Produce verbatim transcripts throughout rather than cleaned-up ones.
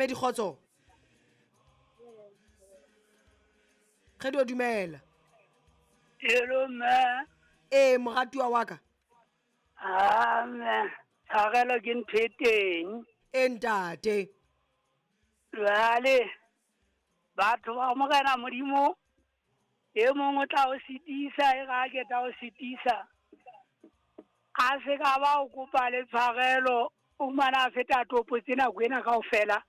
Mamedi kgotso. Re dumela. Hello mme. Eh moratuwa wa ka. Ah mme, tshwarelo ke ntho e teng. E ntate. Jwale batho ba Morena Modimo e mongwe o tla o sitisa e ga ke tla o sitisa. A se ka ba o kopa le tshwarelo o mana a feta topo tsena nako ena kaofela.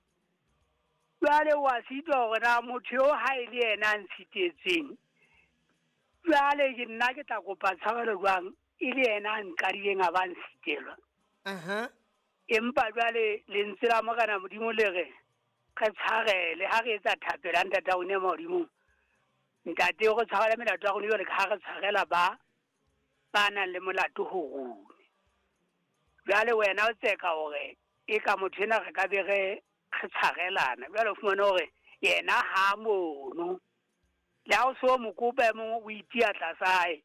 Jwale wa sitwa hore na motho eo ha e le yena a ntshitetseng. Jwale ke nna ke tla kopa tshwarelo jwang e le yena a nqadileng a ba ntshitelwa. Aha. Empa jwale lentswe la Morena Modimo le re re tshwarele ha re etsa thapelo ya Ntate wa rona Modimo. Ntate o re tshwarele melato ya rona jwale ka ha re tshwarela ba ba nang le molato ho rona. Jwale wena o tseka hore e ka motho ena re ka be re re tshwarelana. Jwale o fumane hore yena ha mono. Le ha o so mo kopa e mongwe o itia tlasa hae,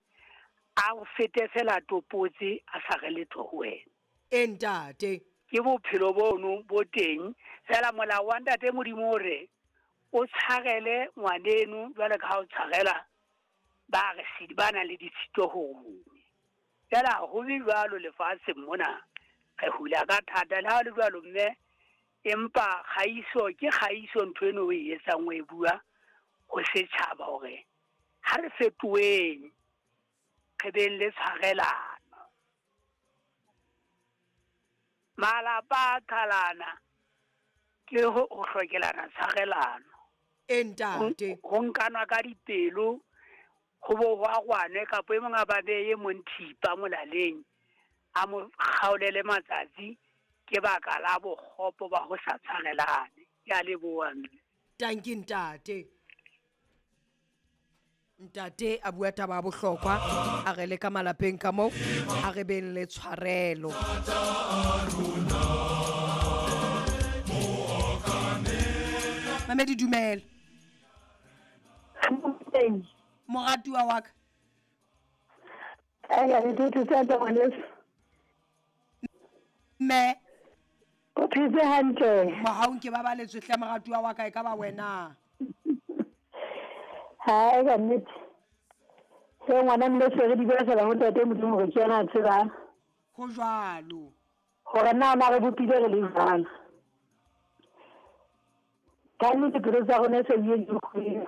a o fete fela topotse a sa re letho ho wena. E ntate. Ke bophelo bono bo teng fela molao wa Ntate Modimo o re o tshwarele ngwaneno jwale ka ha o tshwarela ba re sidi ba nang le ditshito ho rona. Fela ho be jwalo lefatsheng mona re hula ka thata le ha le jwalo mme empa kgaiso ke kgaiso ntho eno o e etsang o e bua ho setjhaba hore ha re fetoheng re beng le tshwarelano. Malapa a qhalana ke ho hlokelana tshwarelano. E ntate. Ho nkanwa ka dipelo ho bo ho agwane kapa e mong a ba beye mong thipa molaleng a mo kgaolele matsatsi ke baka la bokgopo ba ho sa tshwarelane. Ke a leboha mme. Tanki ntate. Ntate a bua taba ya bohlokwa a re le ka malapeng ka moo a re beng le tshwarelo. Mamedi dumela. Moratuwa wa ka. Mme. O phetse hantle. Mohaung ke babaletswe hle moratuwa wa ka e ka ba wena. Ha ka nnete. Se ngwana mme se re di bua fela ho Ntate Modimo hore ke yena a tsebang. Ho jwalo. Hore na na re bopile re le jwang. Ka nnete pelo tsa rona se di di kgwedi.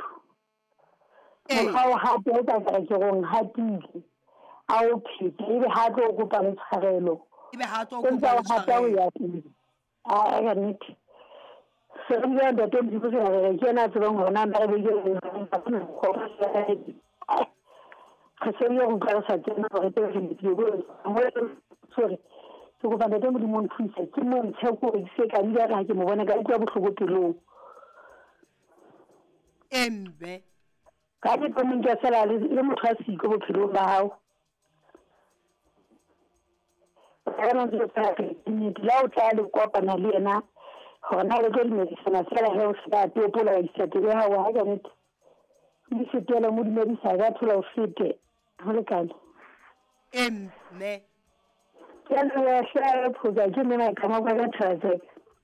Mokgwa o hape o ka re ke rong hatile. A o phete ebe ha tlo kopa le tshwarelo. Ebe ha tlo kopa le tshwarelo. A ka nnete. Se re bua Ntate Modimo se re ke yena a tsebang hore na re beile re se re utlwa re sa tsena hore tse re di sorry. Ke kopa Ntate Modimo o nthuse ke mo ntshe ko re se ka nna ha ke mo bona ka utlwa bohloko pelong. Embe. Ka ke tlo mo nka fela le motho a siko bophelong ba hao. Ka nna ntse fela ke nnete la o tla le kopana le yena hore na le tlo dumedisana fela he o se ka topola wa isa pelo ya hao ha ka nnete. Mme fetela mo dumedisa ka thola o fete ho lekane. Emme. Ke a leboha hle Phoka ke nna ka mo ka thatse.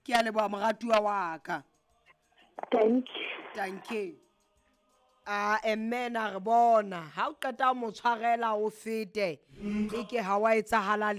Ke a leboha moratuwa wa ka. Thank you. Thank you. Ah emme na re bona ha o qeta mo tshwarela o fete e ke ha wa etsahala.